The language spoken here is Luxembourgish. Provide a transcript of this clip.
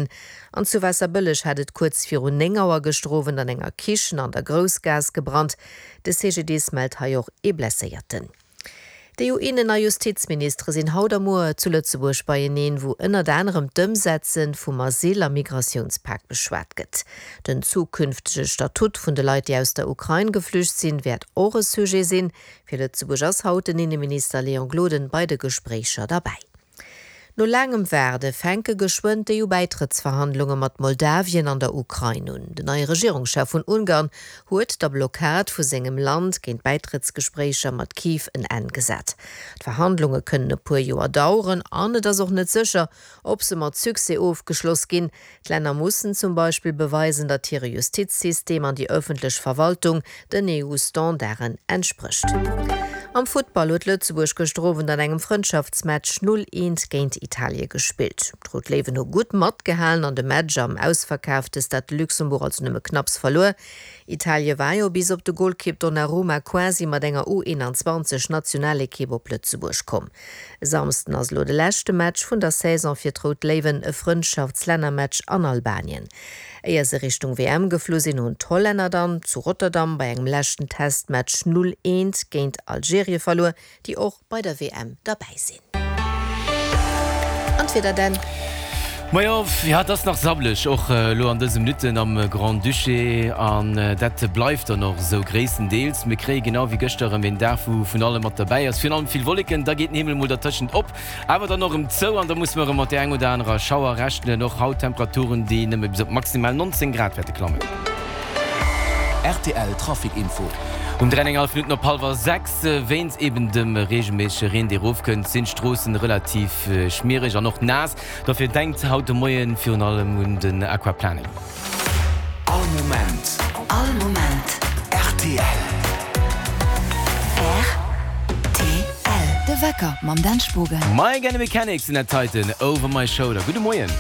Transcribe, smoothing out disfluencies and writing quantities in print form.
sinn. An zu Waasserbëlleg hat et kuerz virun 9 Auer gëschter Owend an enger Kichen an der Groussgaass gebrannt. De CGDIS mellt hei och ee Blesséierten. D'EU-Innen a Justizministere sinn haut a muer zu Lëtzebuerg beieneen, wou ënnert anerem d'Ëmsetze vum Asyl a Migratiounspak beschwat gëtt. Den zukünftege Statut vun de Leit, déi aus der Ukrain geflücht sinn, wäert och e Sujet sinn. Fir Lëtzebuerg ass haut den Inneminister Léon Gloden bei de Gespréicher derbäi. No laangem Waarde fänke geschwënn d'EU-Bäitrëttsverhandlunge mat Moldawien an der Ukrain un. Den neie Regierungschef vun Ungarn huet der Blockad vu sengem Land géint d'Bäitrëttsgespréicher mat Kiew en Enn gesat. D'Verhandlunge kënnen e puer Joer daueren an et ass och net sécher, ob se mat Succès ofgeschloss ginn. D'Länner mussen zum Beispill beweisen, datt hire Justizsystem an déi ëffentlech Verwaltung den EU-Standarden entsprécht. Am Futtball huet Lëtzebuerg gëschter Owend an engem Frëndschaftsmatch 0, 1 géint Italie gespillt. D'Rout Léiwen hu gutt matgehalen an de Match am ausverkaafte Stade de Luxembourg also nëmme knapps verluer. Italie war jo bis op de Golkipp Donnarumma quasi mat enger U21 Nationalekipp op Lëtzebuerg komm. E Samsden ass elo de leschte Match vun der Saison fir d'Rout Léiwen, e Frëndschaftslännermatch an Albanien. Éier se Richtung WM geflu sinn, hunn d'Hollänner dann zu Rotterdam bei engem leschten Testmatch 0, 1 géint Algerie verluer, déi och bei der WM derbäi sinn. An d'Wieder Dan? Majo, jo, et ass nach sabbeleg, och elo an dëse Minutten am Grand-Duché, an dat bleift dann och esou gréisstendeels. Mir kréie genau wéi gëschter erëm een Dag, wou vun allem mat derbäi ass, virun allem vill Wolleken. Da geet den Himmel mol dertëschent op, awer dann och erëm zou an da musse mer erëm mat där eng oder anerer Schauer rechnen. Och haut Temperaturen, déi nëmme bis op maximal 19 Grad wäerte klammen. Rtl Trafic Info. Um 3,5 Minutten op hallwer 6, wéinst eben dem reegelméissege Reen, dee erofkënnt, sinn d'Stroossen relativ schmiereg an och naass. Dofir denkt haut de Moien virun allem un den Aquaplaning. All Moment. All Moment. Rtl. Rtl. De Wecker mam Dan Spogen. My Gonna Mechanics sinn dat heiten, Over My Shoulder. Gudde Moien.